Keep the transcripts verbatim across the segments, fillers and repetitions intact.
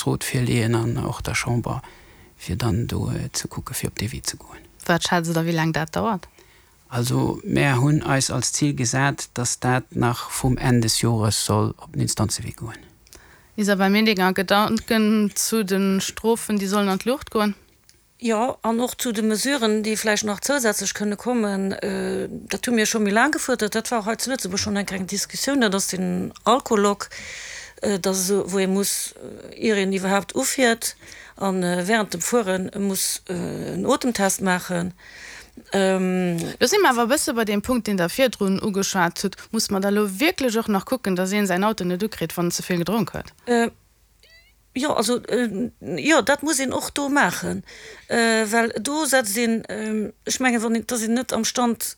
Staatsrot virleeën an och der Chamber, fir dann do ze kucke fir op dee Wee ze goen. Wat schätzt Der, wéi laang dat dauert? Also mär hunn eis als Zil gesat, dass dat nach vum Enn des Jores soll op den Instanzewee goen. Isabelle Medinger, Gedanken zu de Strofen, déi sollen an d'Luucht goen? Jo, an och zu de Mesuren, déi vläicht nach zousätzlech kënne kommen. Dat hu mir scho méi laang gefuerdert, dat war och hei zu Lëtzebuerg schonn eng kleng Diskussioun, dat ass den Alcolock, dat ass esou, wou ee muss, ier een iwwerhaapt ufiert a während dem Fuere muss en Otemtest maachen. Do si mer awer e bësse bei deem Punkt, deen Der virdrun ugeschwat hutt. Muss mer da elo wierklech och nach kucken, datt een säin Auto net ukritt, wann en ze vill gedronk huet? Jo, also, jo, dat muss een och do maachen, well do setzt een, ech mengen, wann een, et ass een net am Stand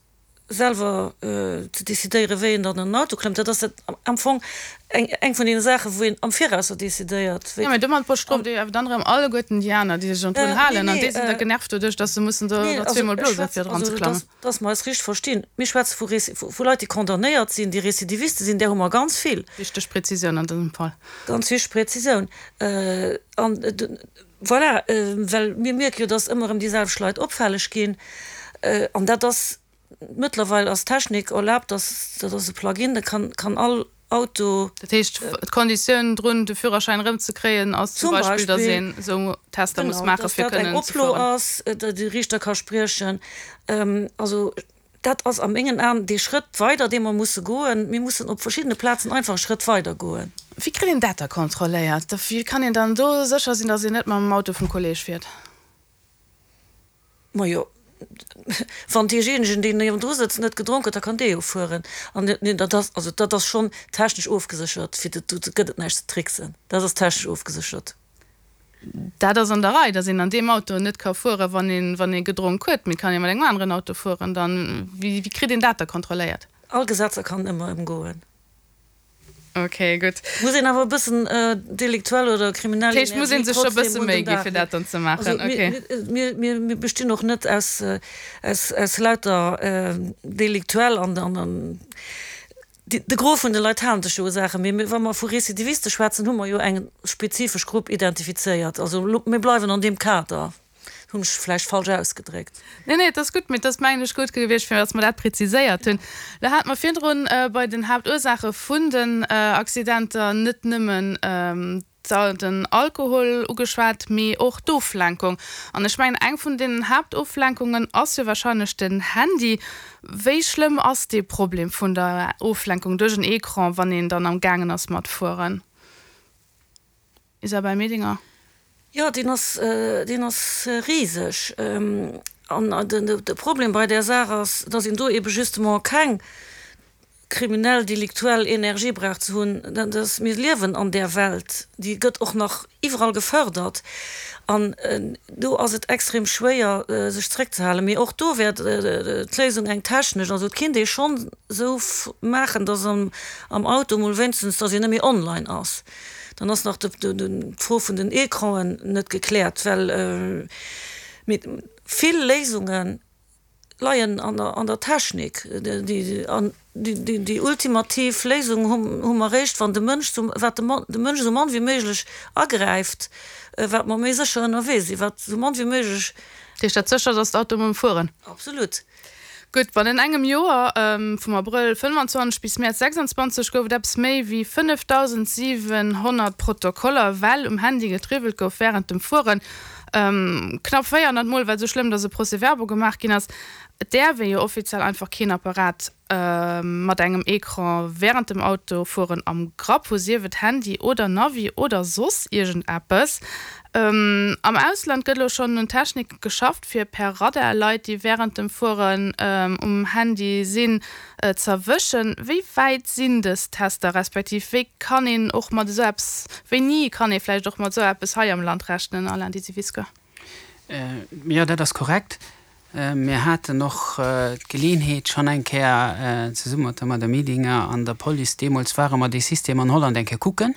selwer ze decidéieren, wéi een dann an den Auto klëmmt. Dat ass am Fong eng, eng vun deene Saachen, wou een am Virausser decidéiert, wéi. Jo, mä domat bestrooft Dir jo awer dann erëm alleguerten déi aner, déi sech drun halen, an déi sinn da genervt doduerch, datt se mussen do nach zweemol blosen, fir dran ze klammen. Dass mer eis richteg verstinn, Mir schwätze vu, vu Leit, déi condamnéiert sinn, déi Récidiviste sinn, där hu mer ganz vill. Wichteg Präzisioun an dësem Fall. Ganz wichteg Präzisioun. An voilà, well mir mierke jo, dass ëmmer erëm déi selwecht Leit opfälleg ginn. An dat ass, mëttlerweil ass d'Technik erlaabt, dass, dat ass e Plug-in, da kann, kann all Auto. Dat heescht, d'Konditioun drun, de Führerschäin erëmzekréien, ass zum Beispill, dass een esou Tester muss maachen, fir kënnen ze fueren. Genau, dass dat eng Oplo ass, datt de Riichter ka spriechen. Also dat ass a mengen Aen dee Schrëtt weider, dee mer musse goen. Mir mussen op verschiddene Plazen einfach e Schrëtt weider goen. Wéi kritt een dat da kontrolléiert? Wéi kann een dann do sécher sinn, dass een net mam Auto vum Kolleeg fiert? Majo, wann deejéinegen, deen niewendru sëtzt, net gedronk huet, da kann dee jo fueren. An dat ass, also dat ass schonn technesch ofgeséchert, fir dat, do gëtt et näischt ze tricksen, dat ass technesch ofgeséchert. Dat ass an der Rei, datt een an deem Auto net ka fueren, wann een, wann ee gedronk huet, mee et kann ee mat engem aneren Auto fueren. Dann, wéi, wéi kritt een dat da kontrolléiert? All Gesetzer kann ëmmer ëmgoen. Ok, gutt. Muss een awer e bëssen deliktuell oder kriminell Energie trotzdem un den Dag leeën. Dat heescht, muss een sech scho e bësse Méi gi fir dat dann ze maachen. Ok. Also mir, mir bestinn och net aus, aus, aus lauter deliktuell an, an de Gros vun de Leit halen sech jo u Saachen. Mee wa mer vu Récidiviste schwätzen, hu mer jo eng spezifesch Grupp identifizéiert. Also mir bleiwen an deem Kader. Hunn ech vläicht falsch ausgedréckt. Nee, nee, et ass gutt, mee et ass, mengen ech, gutt gewiescht, fir datt mer dat präziséiert hunn. Lo hate mer virdrun bei den Haaptursaache vun den Accidenter net nëmmen den Alkohol ugeschwat, mee och d'Oflenkung. An ech mengen, eng vun deenen Haaptoflenkungen ass jo wahrscheinlech den Handy. Wéi schlëmm ass dee Problem vun der Oflenkung duerch en Ecran, wann een dann am gaangen ass mat fueren? Isabelle Medinger. Jo, deen ass, deen ass riseg. An de Problem bei där Saach ass, datt een do ebe justement keng kriminell, deliktuell Energie brauch ze hunn. Dat ass, mir liewen an där Welt, déi gëtt och nach iwwerall gefördert. An do ass et extrem schwéier, sech zréckzehalen. Mee och do wär d'Léisung eng technesch. Also et kinnt ee schonn esou maachen, datt am Auto emol wéinstens, datt een net méi online ass. Dann ass nach d'Fro vun den Ecranen net gekläert, well vill Léisunge leien an der Technik. An déi ultimativ Léisung hu mer eréischt, wann de Mënsch, wat de Mënsch esou mann wéi méiglech agräift, wat mer méi sécher ënnerwee sinn, wat esou mann wéi méiglech. Dat heescht, dat sécherst ass d'autonom Fueren? Absolut. Gutt, bannent engem Joer, vum Abrëll fënnwanzwanzeg bis Mäerz sechsandzwanzeg, gouf et eppes méi wéi fënnefdausendsiwenhonnert Protokoller, well um Handy getriwwelt gouf wärend dem Fueren. Knapp véierhonnert Mol war et esou schlëmm, datt e Procès-verbal gemaach ginn ass. Et däerf ee jo offiziell einfach keen Apparat mat engem Ecran wärend dem Autofueren am Grapp hu, sief et Handy oder Navi oder soss iergendeppes. Am Ausland gëtt elo schonn un Technike geschafft, fir per Radar Leit, déi wärend dem Fueren um Handy sinn, z'erwëschen. Wéi wäit sinn dës Tester, respektiv wéi kann een och mat esou eppes, wéini kann ee vläicht och mat esou eppes hei am Land rechnen, Alain Disivisca? Jo, dat ass korrekt. Mir haten och d'Geleeënheet schonn eng Kéier zesumme mat der Madame Medinger an der Police, deemools ware mer dee System an Holland eng Kéier kucken.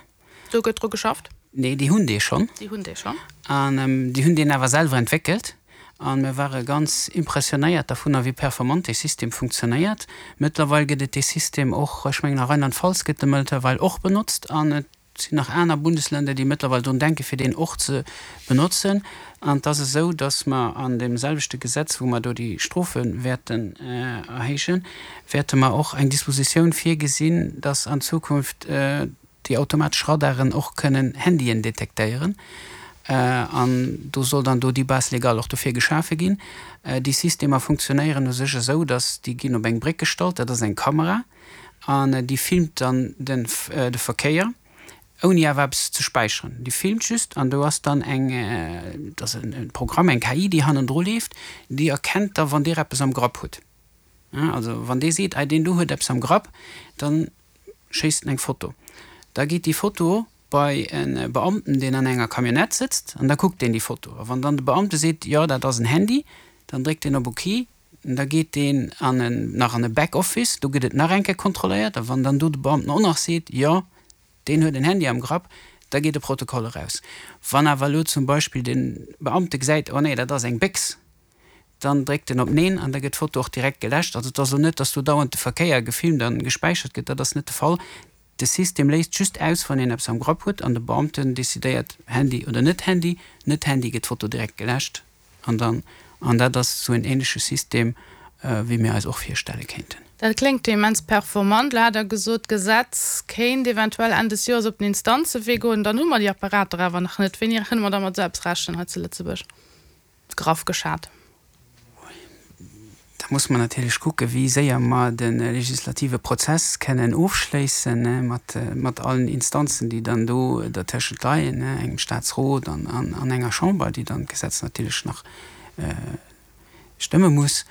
Do gëtt dru geschafft? Nee, déi hunn dee schonn. Déi hunn dee schonn. An déi hunn deen awer selwer entwéckelt. A mir ware ganz impressionéiert dervunner, wéi performant dee System funktionéiert. Mëttlerweil gëtt et dee System och, ech mengen a Rheinland-Pfalz gëtt e mëttlerweil och benotzt. An et Et sinn nach aner Bundesländer, déi mëttlerweil drun denken, fir deen och ze benotzen. An et ass esou, dass mer an deem selwechte Gesetz, wou mer do déi Strofe wäerten erhéijen, wäerte mer och eng Dispositioun virgesinn, dass an Zukunft déi automatesch Radaren och kënnen Handyen detektéieren. An do soll dann do déi Base légale och dofir geschafe ginn. Déi Systemer funktionéieren u sech esou, dass déi ginn op eng Bréck gestallt, dat ass eng Kamera, an déi filmt dann de Verkéier, ouni awer eppes ze späicheren. Déi filmt just an do ass dann eng, dat ass e Programm, eng K I, déi hannendru leeft, déi erkennt da wann Dir eppes am Grapp hutt. Also wann dee seet, ei deen do huet eppes am Grapp, dann schéisst en eng Foto. Da geet déi Foto bei e Beamten, deen an enger Camionnette sëtzt, an da kuckt deen déi Foto. A wann dann de Beamte seet, jo, dat ass en Handy, dann dréckt deen op OK, an da geet deen an en, nach an e Backoffice, do gëtt et nach eng Kéier kontrolléiert, a wann dann do de Beamten och nach seet, jo, deen huet en Handy am Grapp, da geet e Protokoll eraus. Wann awer elo zum Beispill de Beamte gesäit, oh nee, dat ass eng Béchs, dann dréckt en op Neen an da gëtt d'Foto och direkt geläscht. Also et ass elo net, datt do dauernd de Verkéier gefilmt a gespäichert gëtt, dat ass net de Fall. De System léist just aus, wann een eppes am Grapp huet an de Beamten decidéiert, Handy oder net Handy. Net Handy gëtt d'Foto direkt geläscht an dann, an dat ass esou en ähnleche System, wéi mir eis och virstelle kéinten. Dat kléngt jo immens performant. Elo hat Der gesot, d'Gesetz kéint eventuell Enn des Joers op den Instanzewee goen. Dann hu mer déi Apparater awer nach net. Wéini kënne mer da mat esou eppes rechnen hei zu Lëtzebuerg? Graff geschat. Da muss mer natierlech kucken, wéi séier mer de legislative Prozess kennen ofschléissen mat, mat allen Instanzen, déi dann do dertëschent leien, engem Statsrot an, an, an enger Chamber, déi dann d'Gesetz natierlech nach stëmme muss.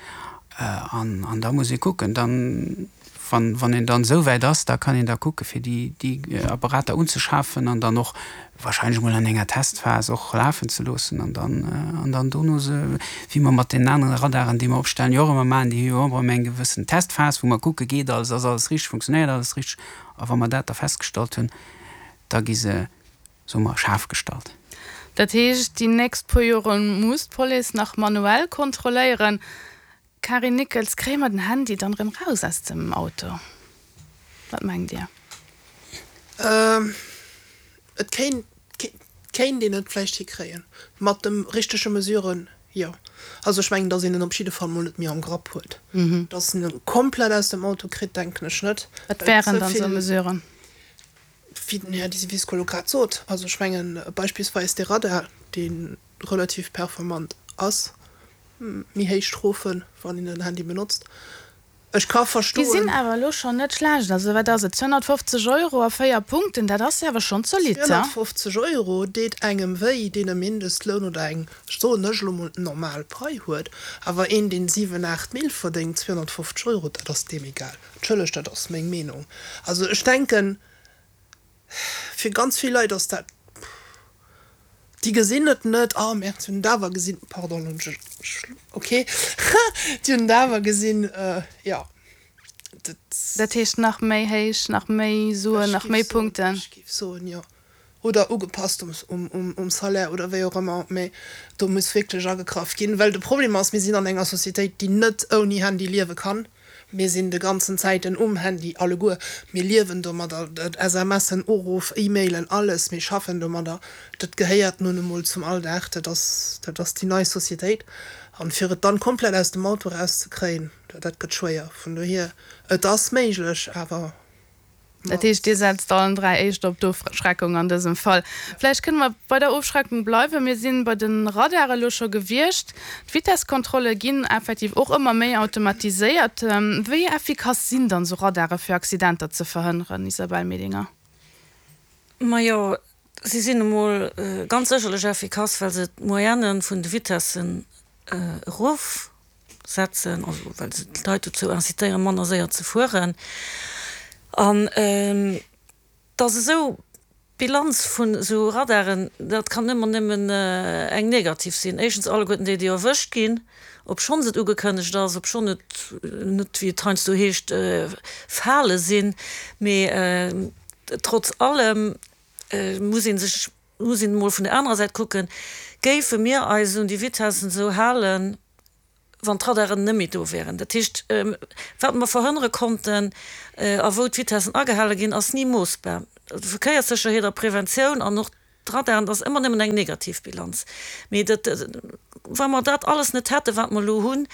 An, an da muss ee kucken, dann, wann, wann een dann esou wäit ass, da kann een da kucke fir déi, déi Apparater unzeschafen an dann och wahrscheinlech emol an enger Testphas och lafen ze loossen an dann, an dann dono se, wéi mer mat deenen anere Radaren, déi mer opstellen, jo och ëmmer maachen, déi hu jo och ëmmer eng gewëssen Testphas, wou mer kucke geet alles, ass alles richteg, funktionéiert alles richteg. A wa mer dat da festgestallt hunn, da gi se, soe mer, schaarf gestallt. Dat heescht, déi nächst puer Jore muss d'Police nach manuell kontrolléieren. Karin Nickels, Kréie mer den Handy dann erëm raus aus dem Auto? Wat mengt Dir? Et kéint, kéint een et vläicht hikréien. Mat de richtege Mesuren, jo. Also ech mengen, datt een en op jidde Fall mol net méi am Grapp huet. Datt een e komplett aus dem Auto kritt, denken ech net. Wat wären dann esou Mesuren? Wéi den Här Disivisco elo grad sot. Also ech mengen beispillsweis dee Radar, dee relativ performant ass, méi héich Strofen, wann een den Handy benotzt. Ech ka Déi verstoen. sinn awer elo schonn net schlecht. Also wat ass et, zweehonnertfofzeg Euro a véier Punkten, dat ass jo awer schonn zolidd, he? Zweehonnertfofzeg Euro deet engem wéi, deen e Mindestloun oder eng, soen ech elo mol, normal Pai huet. Awer een, deen siwen, aacht Mille verdéngt, zweehonnertfofzeg Euro, dat ass deem egal. Entschëllegt, dat ass meng Meenung. Also ech denken, fir ganz vill Leit ass dat, déi gesinn et net, oh merde, si hunn et awer gesinn, pardon, elo hunn ech, ok, déi hunn et awer gesinn, jo, dat. Dat heescht nach méi héich, nach méi Suen, Ech nach géif méi soen, Punkten? ech géif soen, jo. Oder ugepasst um Salaire oder wéi och ëmmer, mä do muss wierklech agegraff ginn, well de Problem ass, mir sinn an enger Societéit, déi net ouni Handy liewe kann. Mir sinn de ganzen Zäiten um Handy, alleguer. Mir liewen domadder, S M Sen, Uruff, E-Mailen, alles, mir schaffen domadder. Dat gehéiert nun emol zum Alldag, dat ass, dat ass déi nei Societéit. An fir et dann komplett aus dem Auto erauszekréien, dat gëtt schwéier. Vun dohier, et ass méiglech, awer. Dat heescht, Dir setzt allen dräi éischter op d'Ofschreckung an dësem Fall. Vläicht kënne mer bei der Ofschreckung bleiwen. Mir si bei de Radare elo scho gewiescht. D'Vitesskontrolle ginn effektiv och ëmmer méi automatiséiert. Wéi effikass sinn dann esou Radare fir Accidenter ze verhënneren, Isabelle Medinger? Majo, si sinn emol ganz sécherlech effikass, well se d'Moyenne vun de Vitessen erof setzen, also well se d'Leit dozou incitéieren, manner séier ze fueren. An et ass esou, d'Bilanz vun esou Radaren, dat kann ëmmer nëmmen eng negativ sinn. Éischtens alleguerten déi, déi erwëscht ginn, obschonns et ugekënnegt ass, obschonn et net, wéi et heiansdo heescht, Fale sinn. Mee trotz allem muss ee sech, muss een emol vun der anerer Säit kucken, Géife mir eis un déi Vitessen esou halen, wann d'Radaren net méi do wären? Dat heescht, wat mer verhënnere konnten a wou d'Vitessen agehale ginn, ass ni moossbar. Verkéierssécherheet a Preventioun an och d'Radaren, dat ass ëmmer nëmmen eng negativ Bilanz. Mee dat, wa mer dat alles net hätten, wat mer elo hunn,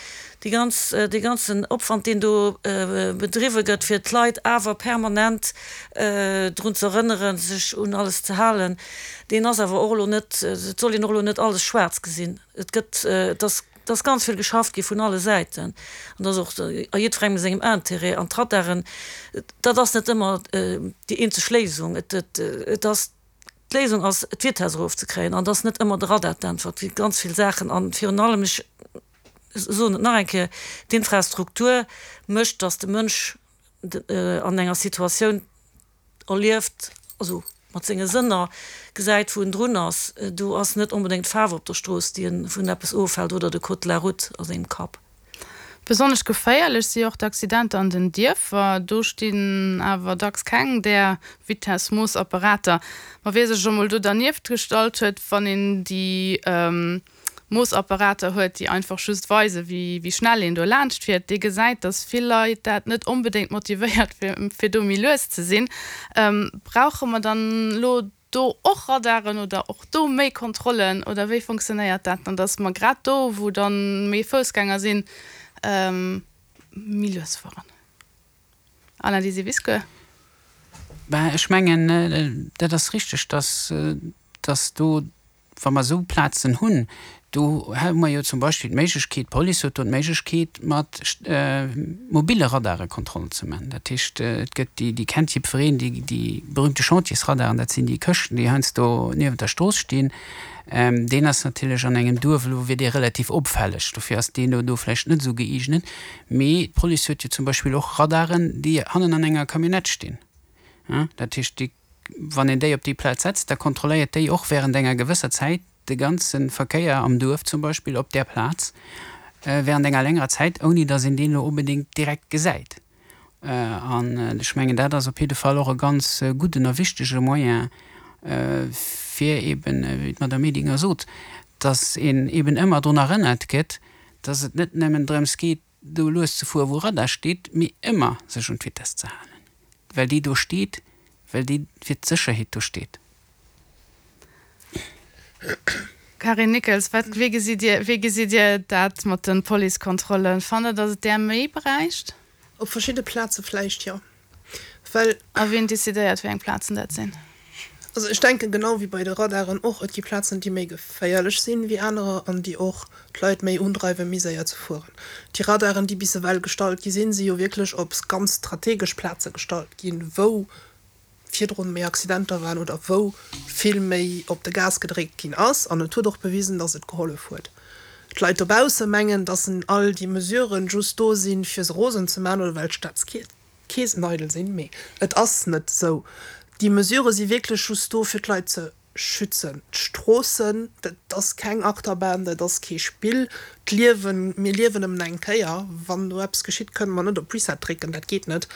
déi ganz, dee ganzen Opwand, deen do bedriwwe gëtt, fir d'Leit awer permanent drun ze erënneren, sech un alles ze halen, deen ass awer och elo net, et soll een och elo net alles schwaarz gesinn. Et gëtt, et ass, et ass ganz vill geschafft gi vun alle Säiten an dat ass och a jiddwerengem sengem Intérêt. An d'Radaren, dat ass net ëmmer déi eenzeg Léisung. Et, et, et ass, d'Léisung ass, d'Vitess erofzekréien an et ass net ëmmer de Radar d'Äntwert. Et gi ganz vill Saachen an virun allem, ech soen et nach eng Kéier, d'Infrastruktur mécht, datt de Mënsch an enger Situatioun erlieft, also mat senge Sënner gesäit, wou en drun ass. Do ass net onbedéngt d'Faarf op der Strooss, déi en vun eppes ofhält, oder de Code de la route a sengem Kapp. Besonnesch geféierlech si och d'Accidenter an den Dierfer. Do stinn awer dacks keng där Vitessmoossapparater. Ma wie sech emol do dernieft gestallt huet, wann een déi Moossapparater huet, déi einfach just weisen, wéi schnell een do laanscht fiert, dee gesäit, dass vill Leit dat net onbedéngt motivéiert, fir do méi lues ze sinn. Brauche mer dann elo do och Radaren oder och do méi Kontrollen oder wéi funktionéiert dat dann, dass mer grad do, wou dann méi Foussgänger sinn, méi lues fueren? Alain Disiviscour. Ben, ech mengen, dat ass richteg, dass, dass do, wa mer esou Plazen hunn, do hu mer jo zum Beispill d'Méiglechkeet, d'Police huet do d'Méiglechkeet, mat mobile Radare Kontrollen ze maachen. Dat heescht, et gëtt déi, déi kennt jiddwereen, déi, déi berühmte Chantiersradaren, dat sinn déi Këschten, déi heiansdo niewent der Strooss stinn. Deen ass natierlech an engem Duerf, elo wier dee relativ opfälleg, dofir ass deen elo do vläicht net esou gëeegnet. Mee d'Police huet jo zum Beispill och Radaren, déi hannen an enger Camionnette stinn. Dat heescht, déi, wann een déi op déi Plaz setzt, da kontrolléiert déi och während enger gewësser Zäit de ganze Verkéier am Duerf zum Beispill op där Plaz während enger längerer Zäit, ouni datt een deen elo onbedéngt direkt gesäit. An ech mengen, dat ass op jidde Fall och e ganz gudden a wichtege Moyen, fir eben, wéi d'Madame Medinger sot, datt een eben ëmmer drun erënnert gëtt, datt et net nëmmen drëms geet, do lues ze fueren, wou Radar steet, mee ëmmer sech un d'Vitess ze halen, well déi do steet, well déi fir d'Sécherheet do steet. Carine Nickels, wat, wéi gesitt Dir, wéi gesitt Dir dat mat de Policekontrollen? Fannt Der, datt et där méi bräicht? Op verschidde Plaze vläicht, jo. Well. A wien decidéiert, wéi eng Plazen dat sinn? Also ech denken, genau wéi bei de Radaren och, et gi Plazen, déi méi geféierlech sinn wéi anerer an déi och d'Leit méi undreiwen, méi séier ze fueren. Déi Radaren, déi bis ewell gestallt gi sinn, si jo wierklech op ganz strategesch Plaze gestallt ginn, wou virdrun méi Accidenter waren oder wou vill méi op de Gas gedréckt ginn ass. An et huet och bewisen, dass et gehollef huet. D'Leit dobausse mengen, dass all déi Mesuren just do sinn, fir se rosen ze maachen oder well d'Staatskeesen eidel sinn. Mee et ass net esou. Déi Mesurë si wierklech just do, fir d'Leit ze schützen. D'Stroossen, dat ass keng Achterbahn, dat ass kee Spill. D'Liewen, mir liewen nëmmen eng Kéier. Wann do eppes geschitt, kënne mer net op Reset drécken, dat geet net.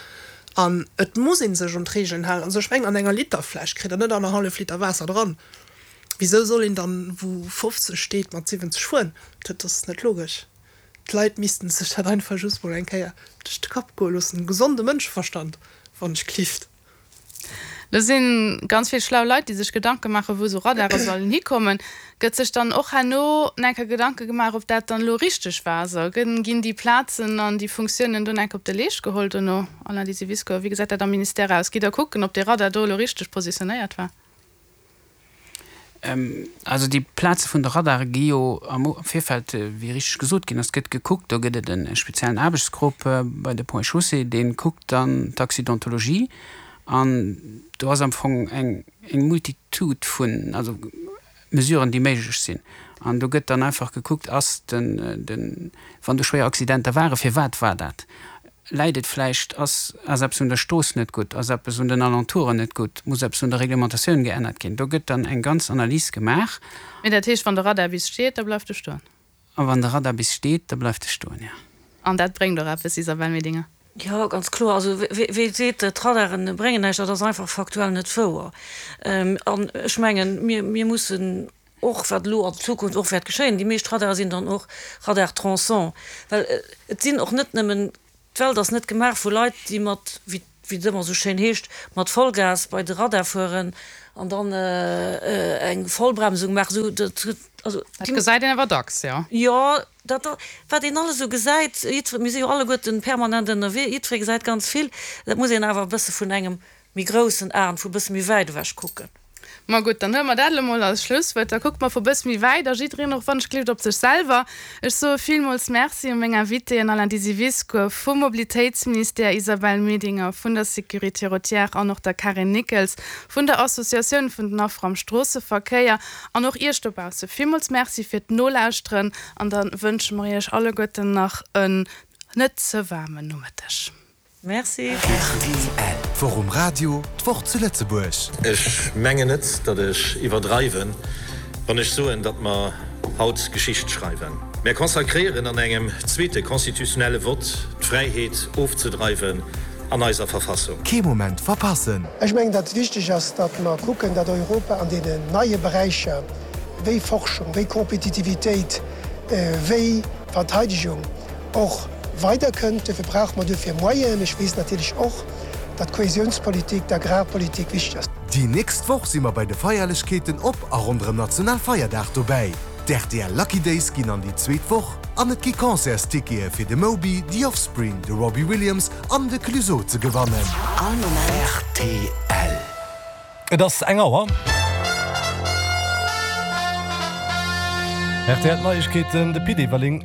An et muss ee sech un d'Regeln halen. Also ech mengen, an enger Literfläsch kritt Der net annerhallef Liter Waasser dran. Wisou soll een dann, wou fofzeg steet, mat siwwenzeg fueren? Dat ass net logesch. D'Leit missten sech dat einfach just mol eng Kéier duerch de Kapp goe loossen. Gesonde Mënscheverstand, wann ech gelift. Do si ganz vill schlau Leit, déi sech Gedanke maachen, wou esou Radare sollen hikommen. Gëtt sech dann och herno enker Gedanke gemaach, ob dat dann elo richteg war? Also ginn déi Plazen an déi Funktiounen do enker op de Leescht geholl dono? Alain Disiviscour, wéi gesäit dat am Ministère aus? Gitt Der kucken, ob dee Radar do elo richteg positionéiert war? Also déi Plaze vun de Radare gi jo am Virfeld, wéi richteg gesot ginn ass, gëtt gekuckt. Do gëtt et e speziellen Aarbechtsgrupp bei de Ponts et Chaussées, dee kuckt dann d'Accidentologie. An do ass am Fong eng Multitude vun, also Mesuren, déi méiglech sinn. An do gëtt dann einfach gekuckt, ass den, den, wann do schwéier Accidenter waren, firwat war dat? Läit et vläicht, ass, ass eppes un der Strooss net gutt, ass eppes un den Alentouren net gutt, muss eppes un der Reglementatioun geännert ginn? Do gëtt dann eng ganz Analys gemaach. Mee dat heescht, wann de Radar bis steet, da bleift e stoen? A wann de Radar bis steet, da bleift e stoen, jo. An dat bréngt och eppes, Isabelle Medinger? Jo, ganz kloer. Also wee seet, d'Radare bréngen näischt, dat ass einfach faktuell net wouer. An ech mengen, mir, mir mussen och, wat elo an Zukunft och wäert geschéien, déi meescht Radare sinn dann och Radar-tronçon, well et sinn och net nëmmen, d'Welt ass net gemaach vu Leit, déi mat wéi et ëmmer esou schéin heescht, mat Vollgas bei de Radar fueren an dann eng Vollbremsung maachen, esou dat huet, also. Dat gesäit een awer dacks, jo. Jo, dat, wat een alles esou gesäit, jiddwer, mir si jo alleguerten permanent ënnerwee, jiddweree gesäit ganz vill, dat muss een awer e bësse vun engem méi groussen Aen, vu bësse méi wäit ewech kucken. Ma gutt, dann huele mer dat elo mol als Schlusswuert. Da kucke mer vu bësse méi wäit a jiddereen och wann ech gleeft op sech selwer. Ech soe villmools Merci u meng Invitéen Alain Disiviscour vum Mobilitéitsministère, Isabelle Medinger vun der Sécurité routière an och der Carine Nickels vun der Associatioun vun den Affer am Stroosseverkéier. An och Iech dobausse villmools Merci fir d'Nolauschteren an da wënsche mer Iech alleguerten nach en net ze waarmen Nomëtteg. Merci. Rtl, D'Woch um Radio, d'Woch zu Lëtzebuerg. Ech mengen net, datt ech iwwerdreiwen, wann ech soen, datt mer haut Geschicht schreiwen. Mär consacréieren an engem zweete constitutionnelle Vott d'Fräiheet ofzedreiwen an eiser Verfassung. Kee Moment verpassen! Ech mengen, datt et wichteg ass, datt mer kucken, datt Europa an deenen neie Beräicher wéi Forschung, wéi Kompetitivitéit, wéi Verteidegung och weiderkënnt. Duerfir brauche mer duerfir Moyenen. Ech weess natierlech och, datt d'Kohäsionspolitik, d'Agrarpolitik wichteg ass. Déi nächst Woch si mer bei de Feierlechkeeten op a ronderëm Nationalfeierdag dobäi. D'R T L Lucky Days ginn an déi zweet Woch an et gi Concertstickete fir de Moby, The Offspring, de Robbie Williams an de Clueso ze gewannen. All Moment. Rtl. Et ass eng Auer. R T L Neiegkeeten, de Pit Everling.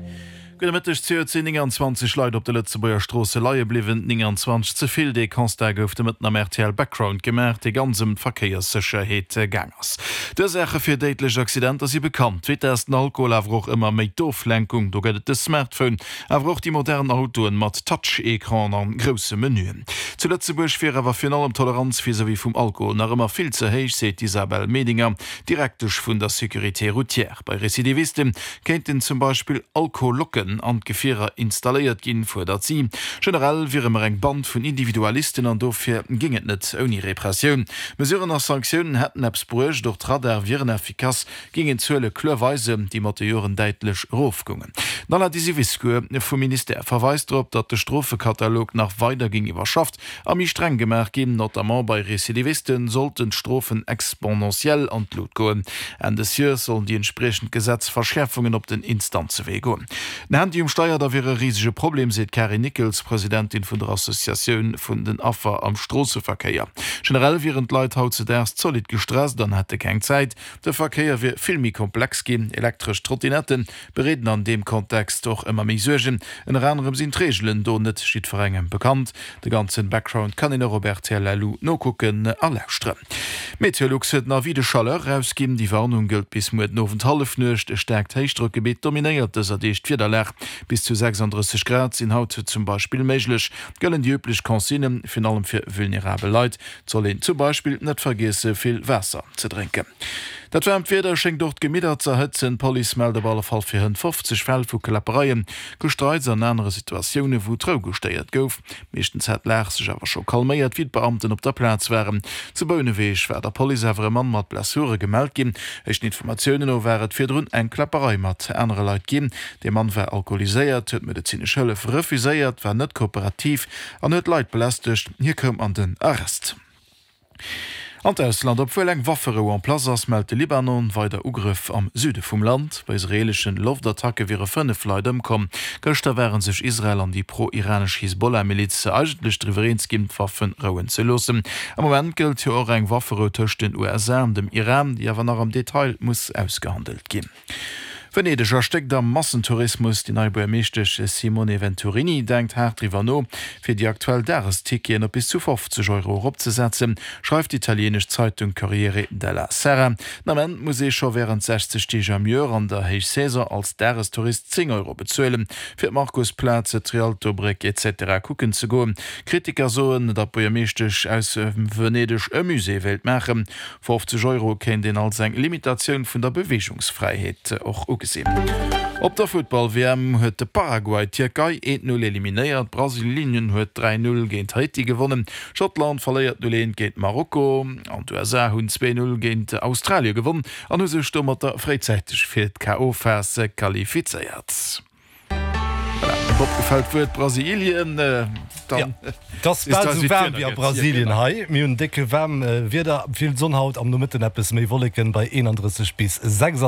Gudde Mëtteg. Zejoert sinn nénganzwanzeg Leit op de Lëtzebuerger Stroosse leie bliwwen. nénganzwanzeg ze vill. Dee Constat gouf de Mëtten am R T L Background gemaach, dee ganz ëm d'Verkéierssécherheet gaang ass. D'Ursaache fir déidlech Accidenter si bekannt, d'Vitess, den Alkohol, awer och ëmmer méi d'Oflenkung. Do gëtt et de Smartphone, awer och déi modern Autoen mat Touch-Ecran an grousse Menüen. Zu Lëtzebuerg wier awer virun allem d'Toleranz vis-à-vis vum Alkohol nach ëmmer vill ze héich, seet d'Isabelle Medinger, Direktesch vun der Sécurité routière. Bei Recidiviste kéinten zum Beispill Alkoholocken an d'Gefierer installéiert ginn, fuerdert si. Generell wiere mer eng Band vun Individualisten an dofir géing et net ouni Repressioun. Mesuren a Sanktiounen hätten eppes bruecht, och d'Radare wieren effikass, géingen d'Zuele kloer weisen, déi mat de Joren däitlech erofgoungen. Den Alain Disiviscour vum Ministère verweist drop, datt de Strofekatalog nach weider géing iwwerschafft a méi streng gemaach ginn. Notamment bei Recidivisten sollten d'Strofen exponentiell an d'Lut goen. Enn des Joers sollen déi entspriechend Gesetzverschäerfungen op den Instanzewee goen. Den Handy um Steier, da wier e risege Problem, seet d'Carine Nickels, Presidentin vun der Associatioun vun den Affer am Stroosseverkéier. Generell wieren d'Leit hautzedaags zolidd gestresst an hätte keng Zäit. De Verkéier wier vill méi komplex ginn. Elektresch Trottinetten bereeden an deem Kontext och ëmmer méi Suergen. Ënner anerem sinn d'Reegelen do net jiddwerengem bekannt. De ganzen Background kann een och op rtl L U nokucken a lauschteren. Meteolux huet en Avis de chaleur erausginn. Déi Warnung gëllt bis muer den Owend Hallefnuecht. E staarkt Héichdrockgebitt dominéiert dëser Deeg d'Wiederlag. Bis zu sechsanddrësseg Grad sinn haut zum Beispill méiglech. Gëllen déi üblech Consignen, virun allem fir vulnerabel Leit. Et soll een zum Beispill net vergiesse vill Waasser ze drénken. Dat waarmt Wieder schéngt och d'Gemidder ze erhëtzen. D'Police mellt op alle Fall fir hënt fofzeg Fäll vu Kläppereien, Gestreits an anere Situatioune wou d'Rou gestéiert gouf. Meeschtens hätt d'Lag sech awer scho calméiert, wéi d'Beamten op der Plaz waren. Zu Bouneweg war der Police awer e Mann mat Blessure gemellt ginn. Éischten Informatiounen no war et virdrun eng Kläpperei mat anere Leit ginn. De Mann war alkoholiséiert, huet medezinesch Hëllef refuséiert, war net kooperativ an huet Leit belästegt. Hie koum an den Arrest. An d'Ausland, Obwuel eng Wafferou en place ass, mellt de Libanon weider Ugrëff am Süde vum Land. Bei israeelesche Loftattacke wiere fënnef Leit ëmkomm. Gëschter ware sech Israel an déi pro-iranesch Hisbollah-Miliz eigentlech driwwer eens ginn, d'Waffe rouen ze loossen. Am Moment gëllt jo och eng Wafferou tëscht den U S A an dem Iran, déi awer nach am Detail muss ausgehandelt ginn. Venedeg erstéckt am Massentourismus. Déi nei Buergermeeschtesch Simone Venturini denkt haart driwwer no, fir déi aktuell Dagesticketen op bis zu fofzeg Euro eropzesetzen, schreift d'italieenesch Zeitung Corriere della Sera. Den Ament muss ee scho wärend sechzeg Deeg am Joer an der Héichsaison als Dagestourist zéng Euro bezuelen, fir d'Markusplaz, d'Rialtobréck et cetera kucken ze goen. Kritiker soen, datt d'Buergermeeschtesch aus Venedeg e Musée wéilt maachen. Fofzeg Euro kéint een als eng Limitatioun vun der Beweegungsfräiheet och ugesinn. Op der Futtball-W M huet de Paraguay d'Tierkei eent Null eliminéiert, Brasilien huet dräi Null géint Haiti gewonnen, Schottland verléiert Null eent géint Marokko an d'U S A hunn zwee Null géint Australie gewonn an hu sech domatter fréizäiteg fir d'K O-Phas qualifizéiert. Voilà. Bob gefält d'Wuert Brasilien, dann Et ass bal esou waarm wéi a Brasilien hei. Mir hunn décke waarm Wieder, vill Sonn haut, am Nomëtten eppes méi Wolleken bei eenandrësseg bis sechsandzwanzeg.